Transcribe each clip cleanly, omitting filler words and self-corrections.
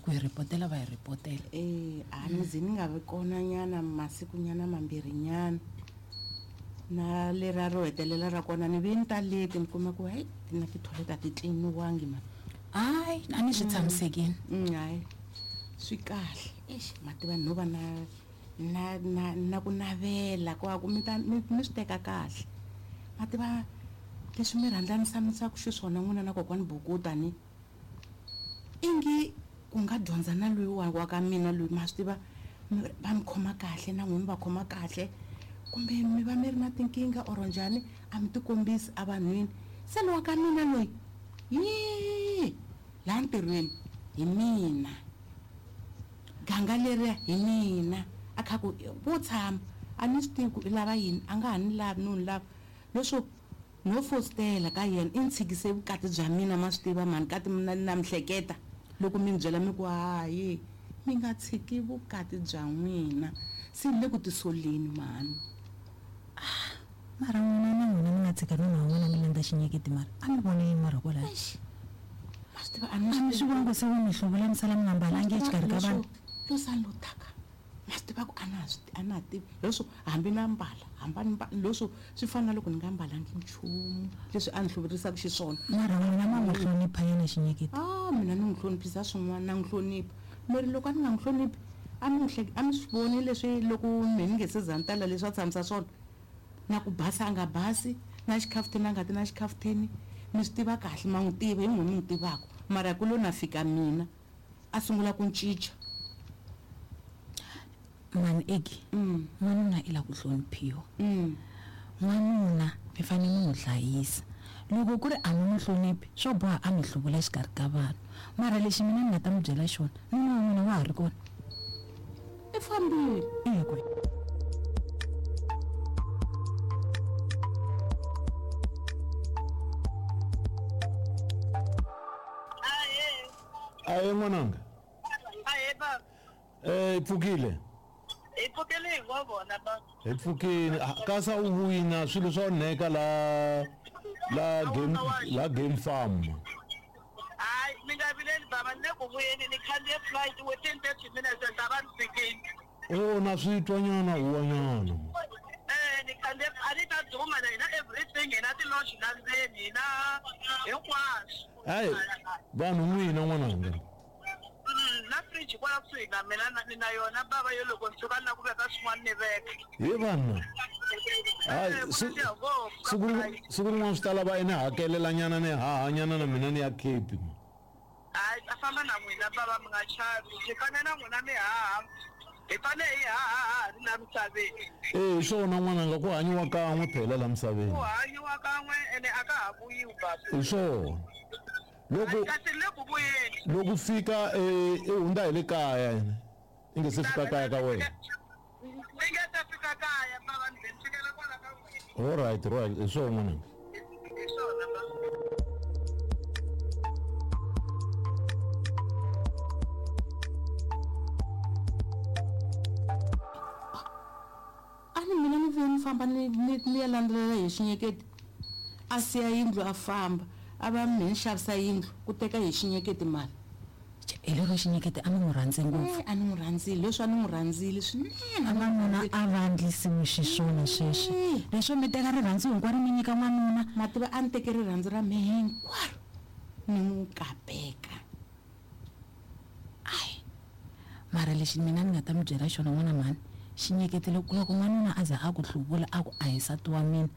Ku hi ripotela va hi ripotela. E a ni ze ni nga vi kona nyana masiku nyana mambirhi nyana na lera ro hetelela ra kona ni ve ni ta leti ni kuma ku hayi na ti-toilet a ti tliniwangi mani. Hayi, a ni swi tshamisekini. Hayi, swi kahle. Exi, ma tiva no va na ku navela ku ku mi ta mi swi teka kahle. Ma tiva leswi mi rhandzanisanisaka xiswona n'wina na kokwani Bukuta ni ingi ku nga dyondza na loyi wa ka mina loyi, ma swi tiva va mi khoma kahle na n'wina mi va khoma kahle, kumbe mi va mi ri na tinkingha or njhani, a mi tikombisi evanhwini. Se lowa ka mina loyi yi laha ntirhweni hi mina, ganga leriya hi mina, a kha ku vo tshama a ni swi tivi ku i lava yini, a nga ha ni lavi no ni lava. Leswo no fositela ka yena i ni tshikise vukati bya mina, ma swi tiva mhani, kati na mi hleketa loko mi ni byela mi ku hayi mi nga tshiki vukati bya n'wina, se ni le ku tisoleni mhani. Ah, mara n'wina na n'wina mi nga tshika nuna wa n'wina mi landza xinyeketi, mara a mi vone yini mara kwalaho? Eish, ma swi tiva a ni A mi swi voni ku se wu mi hluvula mi sala mi nga mbalangi exikarhi ka vanhu? Lo sala lo taka, ma swi tiva ku a na ha swi a na ha tivi leswo hambi na mbala, hambi a ni mbali, leswo swi fana na loko ni nga mbalangi nchumu leswi a ni hluvurisaka xiswona. Mara n'wina ma n'wi hlonipha yena xinyeketi? Ah, mina ni n'wi hloniphisa swin'wana, na n'wi hlonipha. Meri loko a ni nga n'wi hloniphi, a mi n'wi a mi swi voni leswi loko mehe ni nge se za ni tala leswi a tshamisa swona? Na ku basa a nga basi, na xikhafutheni a nga ti na xikhafutheni, mi swi tiva kahle, ma n'wi tiva, hi n'wina mi n'wi tivaka. Mara ku lo na fika mina, a sungula ku cinca. Mhani Egi, n'wanuna i lava ku hloniphiwa. N'wanuna mi fanele mi n'wi hlayisa. Loko ku ri a mi n'wi hloniphi, swo boha a mi hluvula exikarhi ka vanhu. Mara lexi mina ni nga ta mi byela xona, nuna wa n'wina wa ha ri kona? I fambile. I ye kwihi? Ahee n'wananga. Ahee baba. Eh, hi pfukile. Hi pfukile hi ngo vona baba. Hi pfukile. Ah, Kasa u wina swilo swa onheka la la game la game farm. Hayi, mi nga vileli baba, ni le ku vuyeni ni khandziye flight within 30 minutes ni ta va ni fikile. O na swi twa nyana huwa nyana. Eh, ni khandziye a ni ta duma na hina everything, hina ti-lodge la ndzeni, hina hinkwaswo. Hayi, vanhu n'wina n'wananga. Na fridge kwala kusuhi na mina ni na yona bava yo loko ni tshuka ni lava ku veka swin'wana ni veka. He vanhu. Hayi, siku siku rin'wana swi ta lava i ni hakelela nyana ni haha nyana na mina ni ya Cape. Hayi, ta famba na n'wina bava, mi nga chavi. Swi fanele na n'wina mi haha. Hi fanele hi haha ha ha ri la misaveni. Eh, hi swona n'wananga, ku hanyiwa kan'we phela la misaveni. Ku hanyiwa kan'we ene a ka ha vuyiwi baba. Hi swona. Loko Kasi ni le ku vuyeni. Loko fika eh, i hundza hi le kaya yena. I nge se fika kaya ka wena. Ni nge se fika kaya baba, ni ze ni fikela kwala ka n'wina. All right, right, hi swona n'wananga. Hi swona baba. A ni mina ni vuye ni famba ni ni ni ya landzelela hi xinyeketi, a siya yindlu a famba, a va mehe ni xavisa yindlu ku teka hi xinyeketi mali. Hi lero xinyeketi a ni n'wi rhandze ngopfu. A ni n'wi rhandzile, leswi a ni n'wi rhandzile swinene. A n'wanuna a va endlisiwi xiswona sweswi. Leswo mi teka rirhandzu hinkwaro mi nyika n'wanuna. Ma tiva a ni teke rirhandzu ra mehe hinkwaro ni n'wi kapeka. Ayi, mara lexi mina ni nga ta mi byela xona n'wana mhani, xinyeketi loko loko n'wanuna a za a ku hluvula a ku a hi nsati wa mina,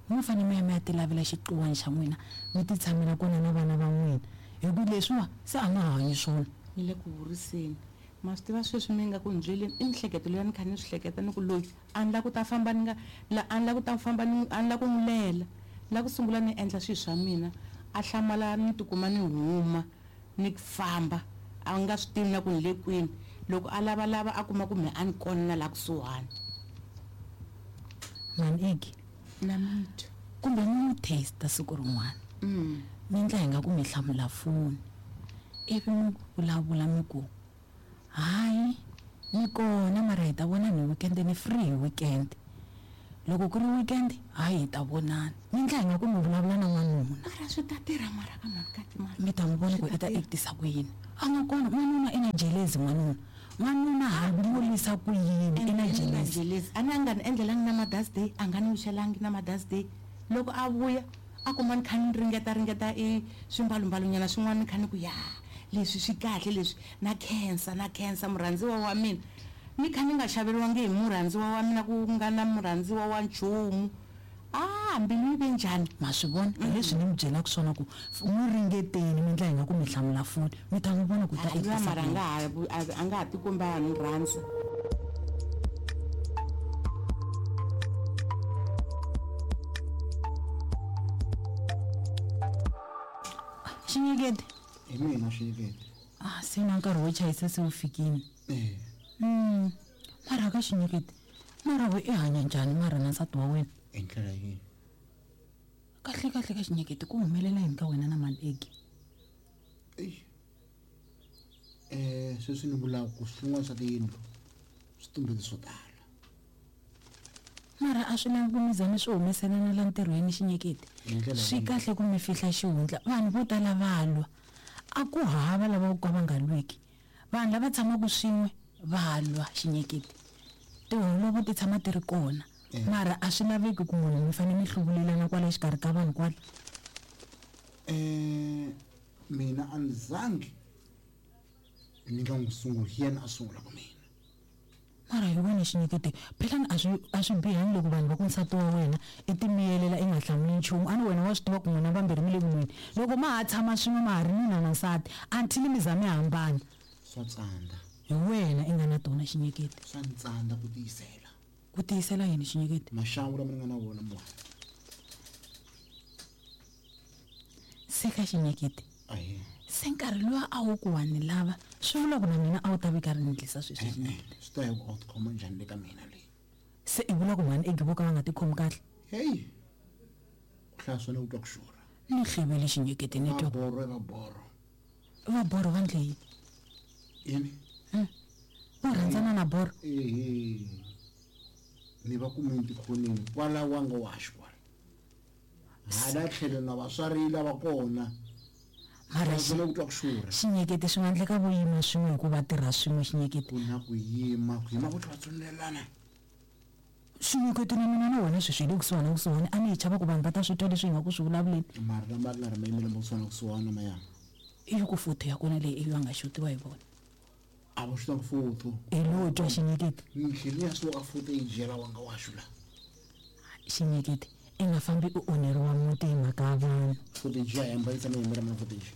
mo fanele mi ya mi ya tilavela xiqiwani xa n'wina mi ti tshamela kona na vana va n'wina, hi ku leswiwa se a ma ha hanyi swona. Ni le ku vuriseni. Ma swi tiva sweswi mi nga ku ni byeleni i mihleketo leyi a ni kha ni swi hleketa ni ku loyi a ni la ku ta famba ni nga la a ni la ku ta famba ni a ni la ku n'wi lela. Ni la ku sungula ni endla swilo swa mina, a hlamala ni tikuma ni huma. Ni famba a nga swi tivi na ku ni le kwini. Loko a lavalava a kuma ku mehe a ni kona na la kusuhani. Mhani Igi. Na mi twa. Kumbe mi n'wi taste siku rin'wana. Mi endla hi nga ku mi hlamula foni ivi mi vulavula mi ku, Hayi, ni kona mara hi ta vonana hi weekend, ni free hi weekend. Loko ku ri weekend hayi hi ta vonana. Mi ndla hi nga ku mi vulavula na n'wanuna. Mara swi ta tirha mara ka mhani kati mara. Mi ta n'wi vona ku i ta actisa ku yini. A nga kona n'wanuna i na jelezi n'wanuna. N'wanuna hambi mo lwisa ku yini i na jelezi. Jelezi a ni a nga ni endlelangi na Mother's Day a nga ni wixelangi na Mother's Day. Loko a vuya a kuma ni kha ni ringeta ringeta i swimbalumbalunyana swin'wana ni kha ni ku ya leswi swi kahle leswi na khensa na khensa murhandziwa wa mina. Ni kha ni nga xaveriwangi hi murhandziwa wa mina ku nga na murhandziwa wa nchumu. A mbilu yi ve njhani? Ma swi vona hi leswi ni mi byelaka swona ku n'wi ringeteni mi ndla hi nga ku mi hlamula foni mi ta n'wi vona ku ta Luya mara a nga ha a nga ha tikombi a ha ni rhandza. Xinyekete. Hi mina Xinyekete. Ah, se na nkarhi wo chayisa se wu fikile. Eh. Mara ka Xinyekete, mara we i hanya njhani mara na nsati wa wena? Hi ndlela yini? Kahle kahle ka Xinyekete ku humelela yini ka wena na mani Egi? Eish. Sweswi ni vulaka ku swin'wana swa tiyindlu swi tumbete swo tala. Mara a swi lavi ku mi za mi swi humeselana la ntirhweni Xinyekete. Hi ndlela Swi yihi? kahle ku mi fihla xihundla. Vanhu vo tala va lwa. A ku hava lava vo ka va nga lwiki. Vanhu lava tshamaka swin'we va lwa Xinyekete. Tiholovo ti tshama ti ri kona. Mara a swi laveki ku munhu mi fanele mi hluvulelana kwala xikarhi ka vanhu kwala. Mina a ni zangi ni nga n'wi sunguli, hi yena a sungulaka mina. Mara hi wena Xinyekete, phela ni a swi bihangi loko vanhu va ku nsati wa wena i timiyelela i nga hlamuli nchumu. A ni wena wa swi tiva ku n'wina vambirhi mi le ku nweni. Loko ma ha tshama swin'we ma ha ri nuna na nsati, until mi za mi hambana. Swa tsandza. Hi wena i nga na tona Xinyekete. Swa ni tsandza ku tiyisela. Ku tiyisela yini Xinyekete? Maxangu lama ni nga na wona mwana. Se ka Xinyekete. Ahee. Se nkarhi luwa a wu ku wa ni lava, swi vula ku na mina a wu ta vika ri ni endlisa sweswi Xinyekete. Swi ta hi ku a wu tikhoma njhani le ka mina leyi. Se i vula ku mhani Egi vo ka va nga tikhomi kahle? Hey. Ku hlaya swona ku twa ku xurha. Ni hlevele Xinyekete ni twa. Va borho va borho. Va borho va ndle yini? Yini? Va rhandzana na borho? Ehe. Ni va kumile tikhoneni kwala wa nga wa xikwala. Hala tlhelo na vatswari lava kona. Mara Xi ku twa ku xurha. Xinyekete swi nga endleka vo yima swin'we hikuva tirha swin'we Xinyekete. Ku na ku yima, ku yima ku tlhela tsonelana. Xinyekete na mina na wena sweswi hi le kusuhani na kusuhani a ni hi chava ku vanhu va ta swi twa leswi hi nga ku swi vulavuleni. Mara lama nga ri mayimelo ma kusuhani na kusuhani maya. I ku foto ya kona leyi i va nga xotiwa hi vona. A va xota foto. I lo twa Xinyekete. Ni tlhela ya suka foto yi jela wa nga wa xula. Xinyekete i nga fambi u onheriwa muti hi mhaka ya vanhu. Footage ya hemba yi tshama yi yimela mana footage.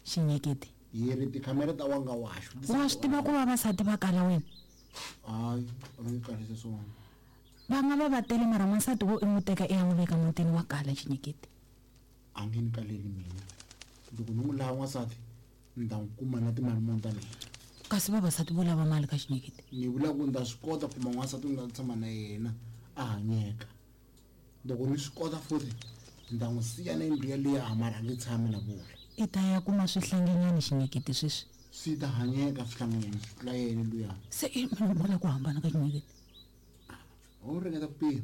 Xinyekete. Yi ri tikhamera ta wa nga wa xu. Wa swi tiva ku vavasati va kala wena? Hayi, a va nge kalisi swona. Va nga va va tele mara n'wansati wo i n'wi teka i ya n'wi veka mutini wa kala Xinyekete. A nge ni kaleli mina. Loko ni n'wi lava n'wansati ni ta n'wi kuma na timali muni ta mina. Kasi vavasati vo lava mali ka Xinyekete? Ni vula ku ni ta swi kota ku kuma n'wansati ni nga tshama na yena a hanyeka. Loko ni swi kota futhi ni ta n'wi siya na yindlu yaliya mara a nge tshami na vula. I ta ya kuma swihlanginyana Xinyekete sweswi. Swi ta hanyeka swihlanginyana swi tlula yena luya. Se i munhu vula ku hambana ka Xinyekete. U ringeta ku pima.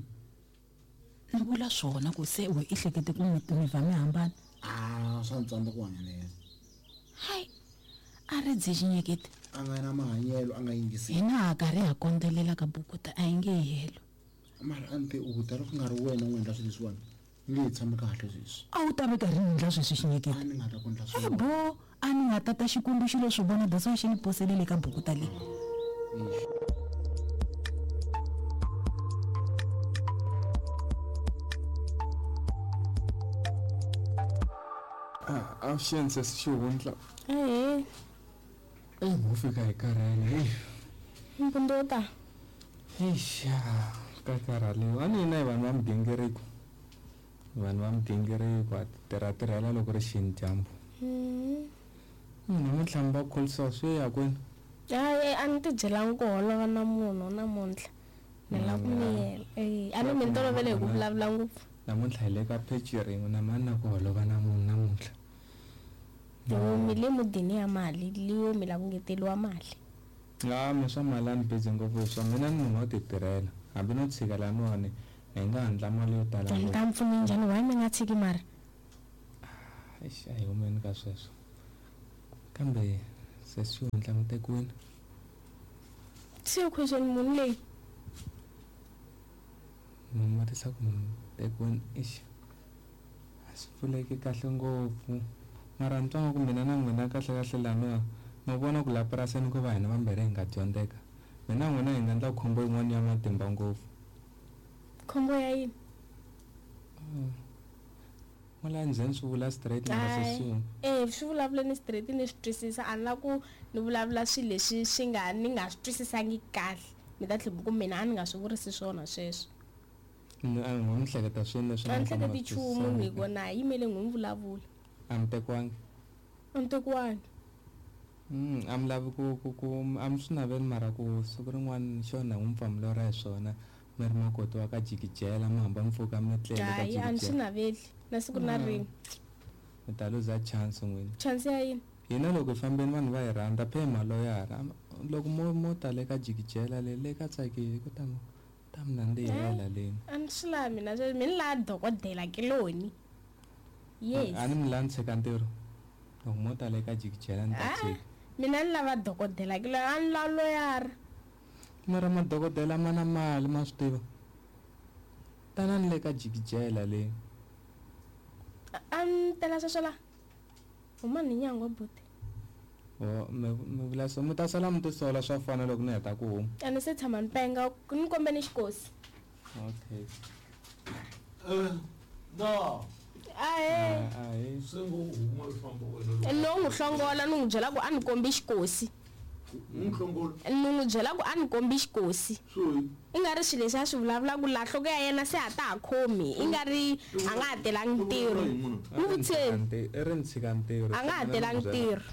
Ni vula swona ku se we i hlekete ku mi va mi hambana. Ah, swa ni tsandza ku hanya na yena. Hayi, a ri dyi Xinyekete. A nga na mahanyelo, a nga yingisi. Hina ha karhi ha kondzelela ka bukuta a yi nge helo. Mara a ni te u ta loko ku nga ri wena u endla swilo leswiwani ni nge hi tshami kahle sweswi. A wu ta ve karhi ni endla sweswi Xinyekete. A ni nga ta ku endla swona. Bo, a ni nga tata Xikwembu xi lo swi vona that's why xi ni poselele ka bukuta leyi. A avuxeni sesi Xihundla. Ahee. Eyi mo fika hi karhele heyi. Mpundzu wo ta. Eish, ka karhaliwa. A ni hina hi vanhu va migingiriko. Vanhu va migingiriko a tirha tirhela loko ri xini dyambu. Namuntlha mi va kholisa swi ya kwini? Hayi a ni ti byelangi ku holova na munhu namuntlha. Ni lava ku miyela. A ni mi ni tolovele hi ku vulavula ngopfu. Namuntlha hi le ka pheji rin'we na mani na ku holova na munhu namuntlha. Mi le mudini ya mali leyo mi lava ku ngeteliwa mali. A mi swa mali a ni busy ngopfu hi swona mina ni munhu wo ti tirhela. Hambi no tshika laniwani hi nga handla mali yo tala Ni ta mi pfuna njhani why mi nga tshiki mara? Eish, a hi humeni ka sweswo. Kambe sesi yo ndla mi tekiwini. Se question munhu leyi. Ni vutisa ku mi tekiwini eish. A swi pfuleki kahle ngopfu. Mara ni twa nga ku mina na n'wina kahle kahle laniwa ma vona ku laha purasini ku va hina vambirhi hi nga dyondzeka. Mina na n'wina hi nga endla khombo yin'wana ya matimba ngopfu. Khombo ya yini? N'wala ndzeni swi vula straight mara sesi. Swi vulavuleni straight ni swi twisisa a ni la ku ni vulavula swilo leswi swi nga ni nga swi twisisangi kahle. Mi ta tlhela ku mina a ni nga swi vurisi swona sweswo. Ni a ni hleketa swilo leswi A ni hleketi nchumu hi kona a yimele n'wi mi vulavula. A mi tekiwangi? A mi tekiwangi. A mi lavi ku a mi swi naveli mara ku siku rin'wana xona n'wi pfa mi lorha hi swona. Mi ri makoti wa ka jikijela mi hamba mi pfuka mi tlele ka Hayi a ni swi jikijela. naveli na siku na rin'we. Mi ta luza chance n'wina. Chance ya yini? Hina loko hi fambeni vanhu va hi rhandza phe maloyara. Loko mo ta le ka jikijela le le ka tsakile ku ta ta mi nandzihela leni. A ni swi lavi mina sweswi mi ni lava dokodela kiloni. Yes. A ni mi lavi ni tshika ntirho. Loko mo ta le ka jikijela ni ta tshika. Mina ni lava dokodela kiloni a ni lavi loyara. Mara madokodela ma na mali ma swi tiva. Tanani le ka jikijela le. A ni tela sweswo la. Huma ni nyangwa buti. O mi vula so mi ta sala mi tisola swa fana loko ni heta ku huma. A ni se tshama ni penga ni kombe ni xikosi. Okay. No. Ahe. Ahe. Se ngo huma u famba wena. No n'wi hlongola ni n'wi byela ku a ni kombi xikosi. N'wi hlongola. Ni n'wi byela ku a ni kombi xikosi. Swi. I nga ri swilo leswi a swi vulavulaka laha nhloko ya yena se a ta ha khomi. I nga ri a nga ha telangi ntirho. N'wi vutiseni. I ri ni tshika ntirho. A nga ha telangi ntirho.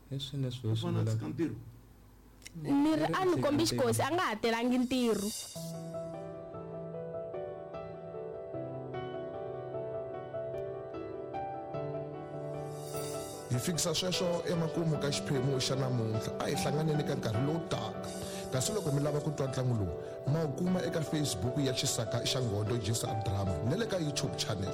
Hi swilo leswi hi swi vulaka. Ni ri a ni kombi xikosi a nga ha telangi ntirho. Hi fikisa sweswo emakumu ka xiphemu xa namuntlha a hi hlanganeni ka nkarhi lowu taka. Kasi loko mi lava ku twa ntlangu lowu ma wu kuma eka Facebook ya Xisaka xa Ngodo Jisa Drama na le ka YouTube channel.